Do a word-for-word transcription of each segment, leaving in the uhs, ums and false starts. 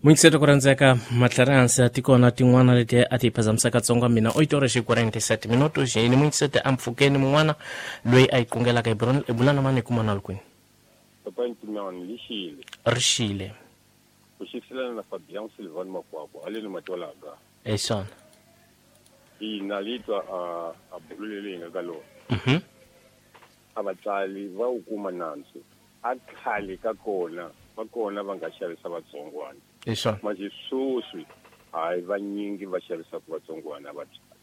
Muyingiseri ku rhandzeka matlhari a tikona tin'wana leti a ti phazamisaka tsonga mina oito horas e quarenta e sete minutos yini muyingiseri a mpfhukeni mun'wana loyi a yi kungelaka hi bula na mani hi kuma na kwini Papa Ntimani lixile rixile ku xiselana na Fabian Silvan Makwakwa aleni matwalaga esona ina litwa a a bulele nga ka lona mhm a vatsali va wu kuma nandzu a khale ka kona va kona va nga xavisa vatsongwana esona manje sweswi hayi vanyingi va xavisaka vatsongwana vatswari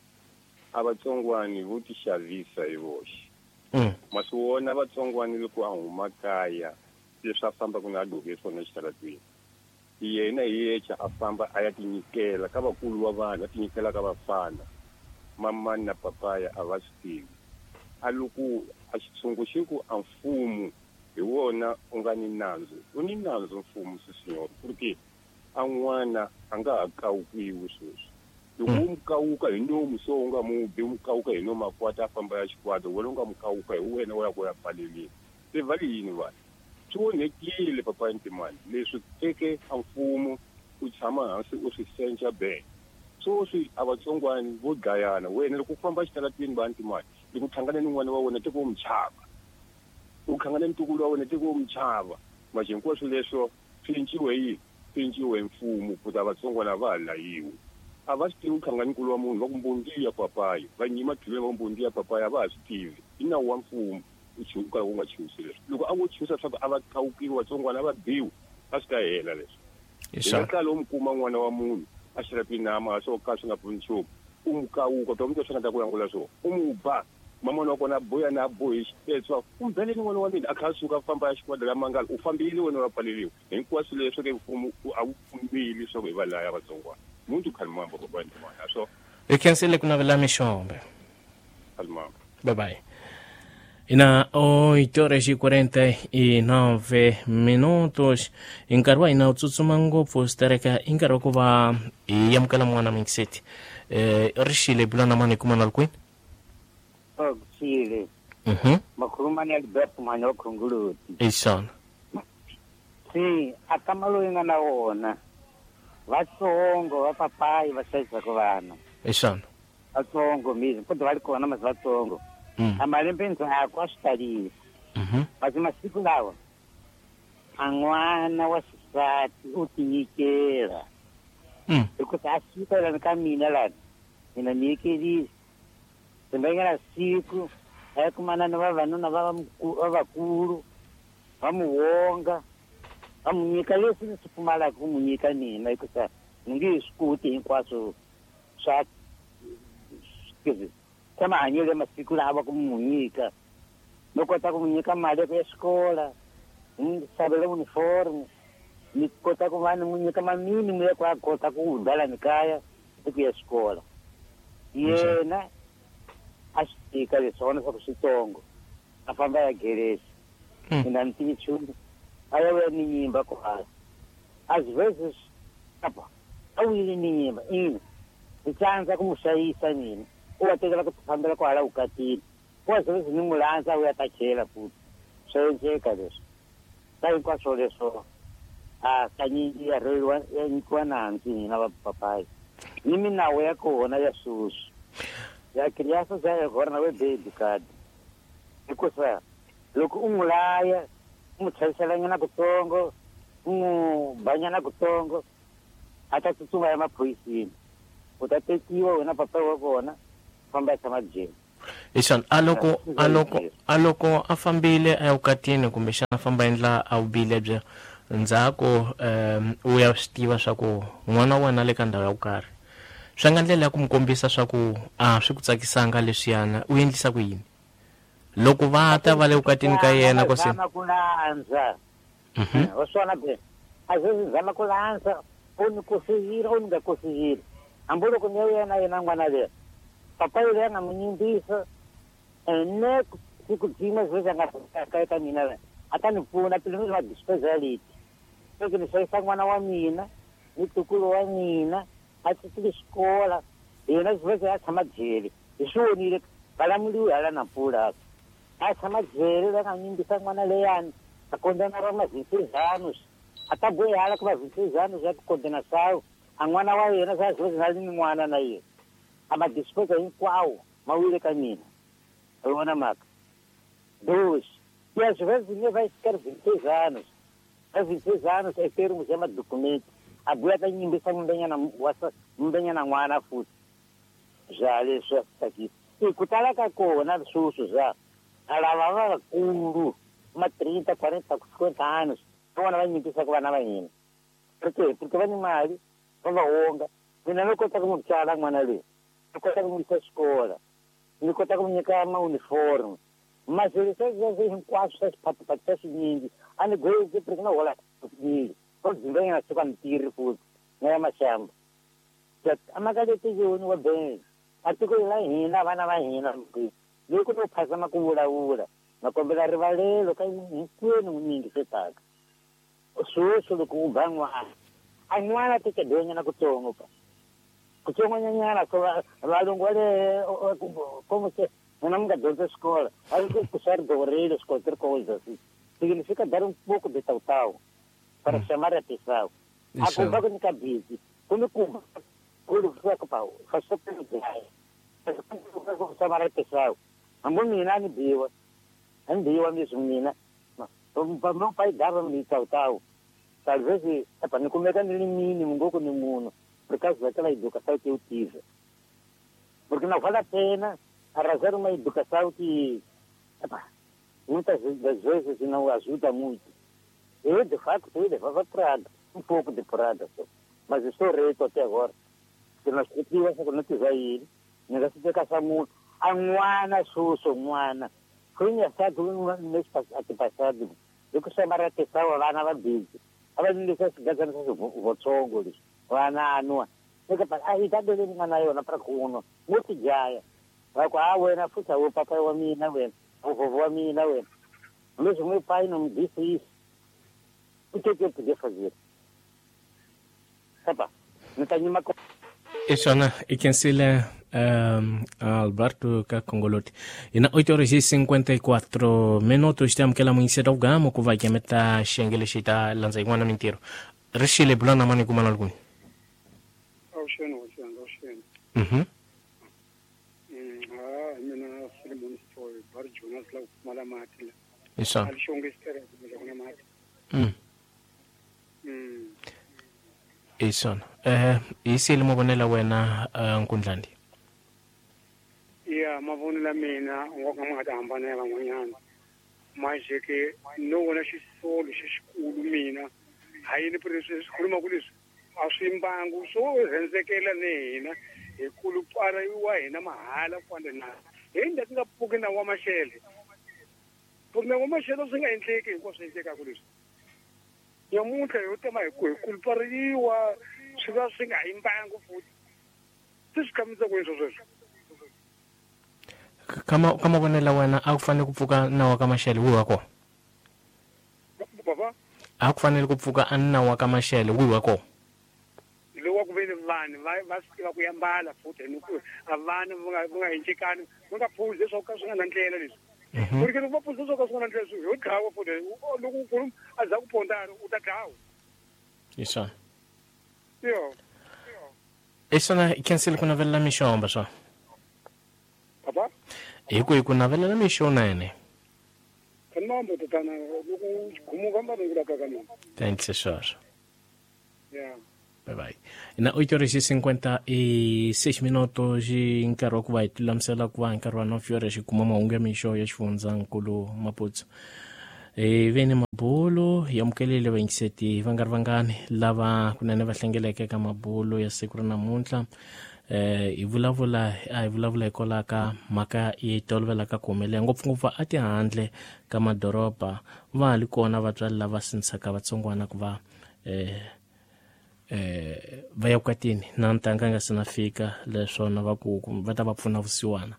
a vatsongwani vo ti xavisa hi voxe mm masiwona vatsongwani loko a huma kaya leswi a fambaka na a gqoke swona exitarateni yena hi yexe a famba a ya tinyikela ka vakulu va vanhu a tinyikela ka vafana mamani na papaya a va swi tivi a loko a xitshungu xi ku a mfumo hi wona u nga ni nandzu u ni nandzu mfumo sisinyor ku ri ke a n'wana a nga ha kawukiwi sweswi loko u mu kawuka hi nomu so u nga mu bi u mu kawuka hi nomu a kwata a famba ya xikwata wena u nga mu kawuka hi wena u ya ku ya pfaleleni se va ri yini vanhu swi onhekile papa Ntimani leswi teke a mfumo u tshama hansi u swi senca be sweswi a vatsongwani vo dlayana wena loko u famba exitarateni va Ntimani loko u hlangane ni n'wana wa wena teko u mu chava u hlangane ni ntukulu wa wena teko u mu chava manje hinkwaswo leswo swi cinciwe yini swi cinciwe mfumo ku ta vatsongwana va ha layiwi a va swi tivi ku hlangana nkulu wa munhu va ku mbondiya papayi va nyima tlhelo va ku mbondiya papaya a va ha swi tivi i nawu wa mfumo u ka u nga chusi leswi loko a vo chusa leswaku a va kawukiwa vatsongwana a va biwi a swi ta hela leswi hi nga kala u mu kuma n'wana wa munhu a xirapini a swo ka swi nga pfuni nchumu u mu kawuka ta mutwa swi nga ta ku langula swona u mu ba mamana wa kona a boya na a bohi xipetswa u mbeleni n'wana wa mina a kha a suka a famba ya xikwada la mangala u fambile wena wa pfaleriwa hinkwaswo leswi ke mfumo a wu pfumeli leswaku hi va laya vatsongwana muntu khalimamba papa Ntimani a swo hi khensile ku navela mixombe khalimamba bye bye ina oito horas e quarenta e nove minutos hi nkarhi wa hina wu tsutsuma ngopfu swi i nkarhi wa ku va hi amukela n'wana muyingiseti um rixile hi bula na mani hi kuma na ri kwini Xile mhm makhulumani ya Alberto mhani wa Khongoloti esona si a kama loyi nga na wona vatsongo va papayi va xavisaka vana esona vatsongo mizi kodwa va ri kona masi vatsongo mm a malembe ndzhaku a swi talile mhm kasi masiku lawa a n'wana wa xisati u tinyikela mm hikusa a suka lani ka mina lani mina ni nyikelile kumbe nga na siku a ya kumana ni vavanuna va va vakulu va mu wonga va mu nyika leswi ni swi pfumalaka ku mu nyika mina hikusa ni nge he swi koti hinkwaswo swa swa mahanyelo ya masiku lawa ku mu nyika no kota ku mu nyika mali ya ku ya xikola ni n'wi xavela uniform ni kota ku va ni n'wi nyika maminimu ya ku a kota ku hundza lani kaya ni ku ya xikola yena a swi tika leswi vona swa ku switsongo a famba ya geresi Mm. mina ni tivi nchumu a ya vuya ni nyimba kwala às vezes apa a wile ni nyimba ina ni tsandza ku mu hlayisa mina u wa tekela ku fambela kwahala vukatini ku às vezes ni n'wi landza a vuya ta chela futhi swa endleka leswi ka hinkwaswo leswo a kanyingi ya rhweriwa ya nyikiwa nandzu hina vapapayi ni minawu ya kona ya sweswi ya criança já agora não é bem educado hikusa loko u n'wi laya u n'wi chaviselanyana kutsongo u n'wi banyana kutsongo a ta tsutsuma ya maphoyisini u ta tekiwa wena papa wa kona famba ya tshama jele esona a loko a loko a loko a fambile a ya vukatini kumbexana a famba endla a vubile bya ndzhaku um u ya swi tiva swa ku n'wana wa wena le ka ndhawu ya ku karhi swi nga ndlela ya ku mu kombisa swa ku a swi ku tsakisanga leswiyana u endlisa ku yini loko va ta va le vukatini ka yena ko se zama ku landza mhm wa swona be a zezi zama ku landza u ni kosihile u ni nga kosihile hambi loko ni ya yena yena n'wana leyi papa yule a nga n'wi nyimbisa ene siku byin'we zezi a nga ka eka mina la a ta ni pfuna pele va dispesa leti loko ni hlayisa n'wana wa mina ni ntukulu wa mina a tsitsile xikola yena ziveze a tshama jele hi swi vonile valamuliwi hala na mpfula a tshama jele la nga nyimbisa n'wana leyani a kondzana ra mavinsezano A ta boihala ku va vinte e seis anos já de condenação, a n'wana wa yena sa às vezes na ni n'wana na yena. A ma despesa hinkwawo ma wile ka mina. Vona mhaka. Dois. E às vezes nem vai ficar vinte e seis anos. A vinte e seis anos é ter um chama documento. A boia tá nyimbisa mbenyana wasa mbenyana n'wana futhi. Já leswi aqui. E kutala ka kona sweswo já. Lava vakulu ma trinta, quarenta, cinquenta anos. Vona va nyimbisa ku vana va hina. Por quê? Porque va ni mali, va va onga. Mina no kota ku n'wi tsala n'wana loyi. Ni kota ku n'wi yisa xikolo. Ni kota ku n'wi nyika ma uniforme. Mas leswi hinkwaswo swa swiphathiphathi swa swinyingi a ni gozi porque na hola swinyingi. Ko dzimbenyana swi ka ni tirhi futhi na ya maxamba. Amakaleti yoni wa benzi. A tiko la hina vana va hina loko no phazama ku vulavula na kombela rivalelo ka hinkwenu n'wi yingisetaka. Sweswo loko u ba n'wana a n'wana teke donyana kutsongo pa kutsongonyana so valungu va le como se n'wina mi nga dyondza xikolo a ri ku swa ri gorile qualquer coisa assim significa dar um pouco de tautau para chamar a atenção. A kumba ku nyika busy kumbe kumba kulu ku pa faz pelo chamar a atenção. Hambi mina ni biwa ni biwa mesmo mina. Meu pai dava-me tautau. Talvez, epa, ni kumeka ni mínimo ngoku ni munhu por causa daquela educação que eu tive. Porque não vale a pena arrasar uma educação que, epa, muitas das vezes não ajuda muito. Eu, de fato, eu levava porrada, um pouco de porrada só. Mas eu estou reto até agora. Porque nós quando tiver ele, ninguém se caça muito. A n'wana sweswo n'wana foi engraçado no mês passado. Eu que chamar a atenção vana va busy. A va ndlisa xigazana swa votsongo leswi. Vana nwa. Eka a yi ta dele n'wana yona para ku nwa. Mo tijaya. Va ku a wena futhi a wo papa wa mina wena. O vovô wa mina wena. Mesmo meu pai não me disse isso. O que que eu podia fazer? Tá não tem nenhuma coisa. Isona ikensile um, Alberto Kakongoloti. Ina oito horas e cinquenta e quatro minutos temos que ela muito cedo gamo que vai que meta xengele xita lanza iguana mentiro. Rishile bulana mani kumana algum. Oxeno, oxeno, oxeno. Mhm. Mm, ah, mina Solomon Story, bar Jonas la kumala matila. Isso. Alishonge stere kumala mati. Mm. Mm. Isona. Eh, isile mavonelo wena Nkundlandi. Ya mavonelo mina ngoka ma nga hambana ya van'wanyana. Manje ke no vona xisolo xixikulu mina. Hayini leswi swi khuluma ku leswi a swi mbangu swo rhendzekela ni hina hi kulupara wa hina mahala kwanda na. Hi ndza nga pfuki na wa maxele. Pfuki na wa maxele swi nga endleki hinkwaswo endlekaka leswi. Nyamuntlha yo tema hi ku hi kulupariwa swi va swi nga hi mbangu futhi. Se swi khamisa ku yini sweswo? Kama kama vonela wena a ku fanele ku pfuka nawu ka maxele wihi wa kona? Baba? A ku fanele ku pfuka a nawu wa ka maxele wihi wa kona? Lowu wa ku ve ni vanhu va va swi tiva ku yambala futhi ni ku a vana va nga va nga hincekani va nga phuzi leswaku ka swi nga na ndlela leswi. Ku ri ke loko va phuzi leswaku ka swi nga na ndlela leswi ho dlawa futhi loko u khuluma a za ku pondana u ta dlawa. Isona. Yo. Isona cancel ku navelela mixomba swa. Papa? Hi ku hi ku navelela mixo na yene. Kanambo tatana loko khumuka mba ni ka ka mina. Thanks sir. Yeah. Bye bye. Na oito horas e cinquenta e seis minutos e nkarhi wa ku va hi tilulamisela ku va nkarhi wa nove horas hi kuma mahungu ya mixo ya xifundzankulu Maputsu. Hi ve ni mabulo hi amukelile vayingiseti va nga ri vangani lava kunene va hlengeleke eka mabulo ya siku ra namuntlha. Eh hi vulavula a hi vulavula hikwalaho ka mhaka yi tolovelaka ku humelela ngopfungopfu a tihandle ka madoroba va ha li kona vatswari lava sindzisaka vatsongwana ku va eh eh va ya vukatini na ntanga nga se na fika leswona va ku va ta va pfuna vusiwana.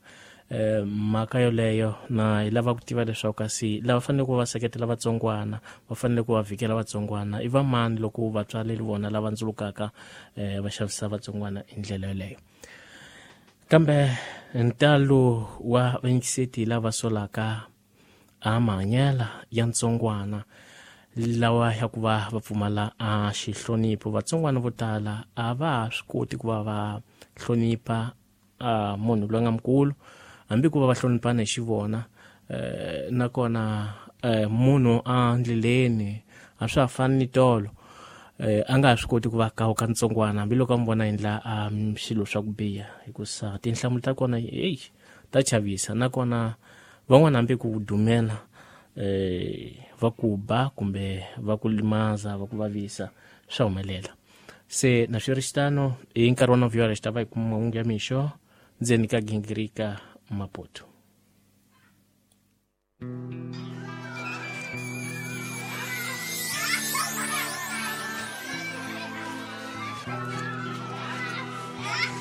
Eh mhaka yoleyo na hi lava ku tiva leswaku kasi lava fanele ku va seketela vatsongwana va fanele ku va vhikela vatsongwana i va mani loko vatswari le vona lava ndzulukaka eh va xavisa vatsongwana hi ndlela yoleyo. Kambe ntalo wa vayingiseti lava solaka a mahanyela ya ntsongwana Lawa ya ku va va pfumala a xihlonipho. Vatsongwana vo tala a va ha swi koti ku va va hlonipha a munhu loyi a nga mukulu, hambi ku va va hloniphana hi xivona. Eh, nakona eh, munhu a ndleleni a swa ha fani ni tolo, eh, a nga ha swi koti ku va kawuka ntsongwana hambiloko a mi vona endla a swilo swa ku biha, hikusa tinhlamulo ta kona eyi ta chavisa. Nakona van'wana hambi ku dumela eh, va ku ba kumbe va ku limaza, va ku vavisa, swa humelela. Se na swi ri xitano hi nkarhi wa novhiyora xi ta va hi kuma mahungu ya mixo ndzeni ka gingirika Maputo.